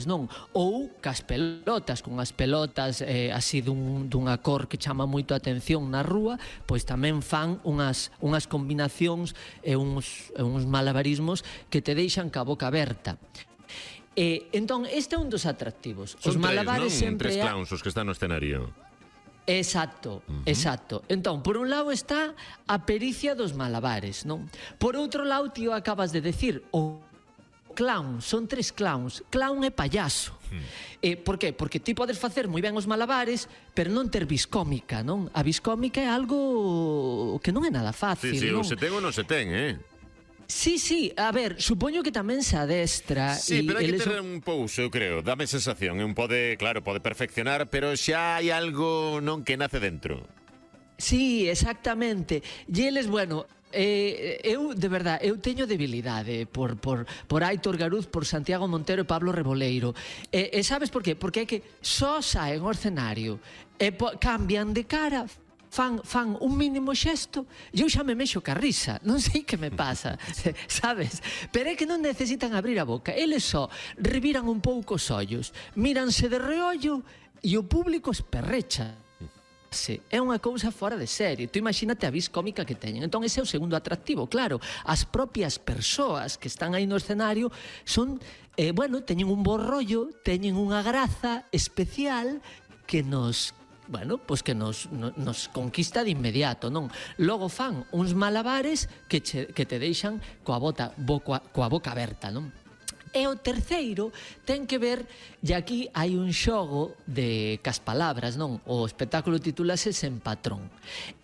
non? Ou cas pelotas, con as pelotas así dunha cor que chama moito a atención na rúa, pois tamén fan unhas combinacións e uns malabarismos que te deixan ca boca aberta. Entón, este é un dos atractivos. Son tres clowns os que están no escenario. Exacto, exacto. Entón, por un lado está a pericia dos malabares, non? Por outro lado, tío, acabas de decir, o clown, son tres clowns. Clown é payaso. Por qué? Porque ti podes facer moi ben os malabares, pero non ter viscómica, non? A viscómica é algo que non é nada fácil, non? Sí, ou se ten ou non se ten, Sí, a ver, supoño que tamén se adestra. Sí, pero hai que ter un pouso, eu creo. Dame sensación, pode perfeccionar, pero xa hai algo non que nace dentro. Sí, exactamente. E eles, bueno, eu, de verdade, eu teño debilidade por Aitor Garuz, por Santiago Montero e Pablo Reboleiro. E sabes por qué? Porque é que só saen ao escenario e cambian de cara, fan un mínimo xesto e eu xa me mexo ca risa, non sei que me pasa, sabes? Pero é que non necesitan abrir a boca, eles só reviran un pouco os ollos, míranse de reollo e o público esperrecha. É unha cousa fora de serie. Tú imagínate a vis cómica que teñen. Entón ese é o segundo atractivo, claro. As propias persoas que están aí no escenario son, teñen un bo rollo, teñen unha graza especial que nos conquista de inmediato, non? Logo fan uns malabares que te deixan coa boca aberta, non? E o terceiro ten que ver, e aquí hai un xogo de cas palabras, non? O espectáculo titúlase Sen Patrón.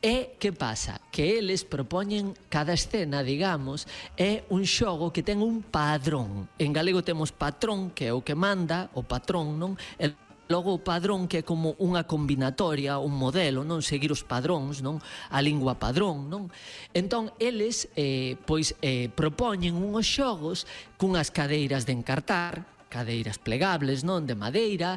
E que pasa? Que eles propoñen cada escena, digamos, é un xogo que ten un padrón. En galego temos patrón, que é o que manda, o patrón, non? Logo o padrón, que é como unha combinatoria, un modelo, non? Seguir os padróns, non? A lingua padrón, non? Entón, eles, propoñen unhos xogos cunhas cadeiras de encartar, cadeiras plegables, non? De madeira,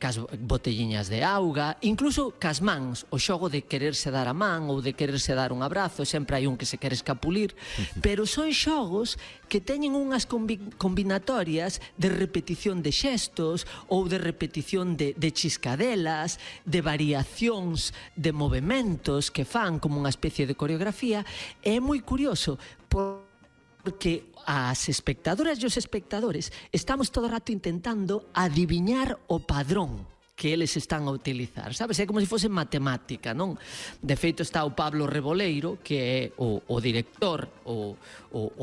cas botelliñas de auga, incluso cas mans, o xogo de quererse dar a man ou de quererse dar un abrazo, sempre hai un que se quere escapulir, pero son xogos que teñen unhas combinatorias de repetición de xestos ou de repetición de chiscadelas, de variacións de movementos que fan como unha especie de coreografía. É moi curioso porque as espectadoras e os espectadores estamos todo o rato intentando adiviñar o padrón que eles están a utilizar, sabes? É como se fose matemática, non? De feito está o Pablo Reboleiro, que é o director, o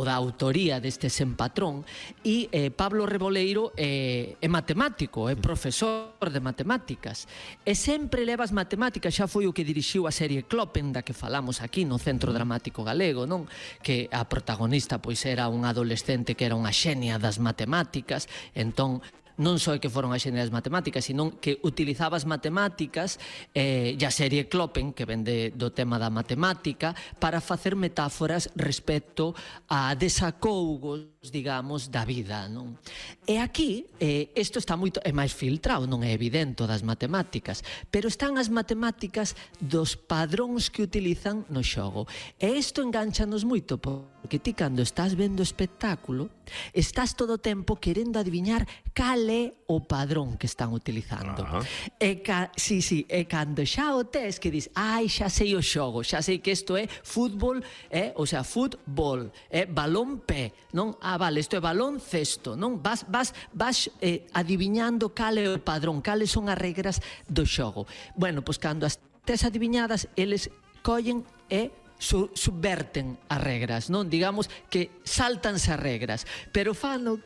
da autoría deste Sen Patrón, e Pablo Reboleiro é matemático, é profesor de matemáticas, e sempre leva as matemáticas, xa foi o que dirixiu a serie Kloppen, da que falamos aquí no Centro Dramático Galego, non? Que a protagonista pois era un adolescente que era unha xenia das matemáticas, entón non só que foron as xeneras matemáticas, sino que utilizaba as matemáticas e a serie Kloppen, que vende do tema da matemática, para facer metáforas respecto a desacougos, digamos, da vida, non? E aquí, isto está moito, é máis filtrado, non é evidente das matemáticas, pero están as matemáticas dos padróns que utilizan no xogo. E isto enganchanos moito, porque ti cando estás vendo o espectáculo, estás todo o tempo querendo adiviñar cal é o padrón que están utilizando. E cando xa o tes que dis, xa sei o xogo, xa sei que isto é fútbol, o sea, fútbol, balón pé, non? Vale, isto é balón cesto, non? Vas adiviñando cal é o padrón, cales son as regras do xogo. Bueno, pois cando as tes adiviñadas, eles collen e subverten as regras, non? Digamos que saltanse as regras, pero fano,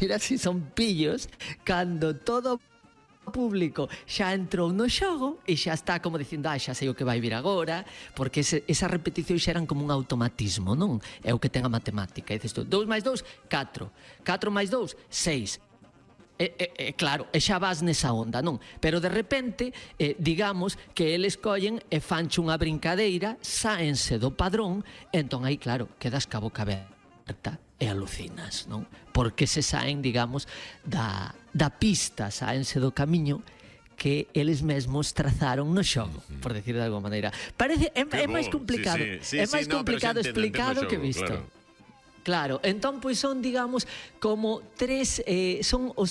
mira si son pillos, cando todo o público xa entrou no xogo e xa está como dicindo, xa sei o que vai vir agora, porque esas repeticións xa eran como un automatismo, non? É o que ten a matemática. E dices tú, 2 máis 2, 4, 4 máis 2, 6. Claro, e xa vas nesa onda, non? Pero de repente, digamos que eles collen e fanche unha brincadeira, sáense do padrón, entón aí, claro, quedas ca boca aberta e alucinas, non? Porque se saen, digamos, da pista, sáense do camiño que eles mesmos trazaron no xogo, por decir de alguma maneira. Parece, é máis complicado, é máis complicado explicado que visto. Claro, entón pois son, digamos, como son os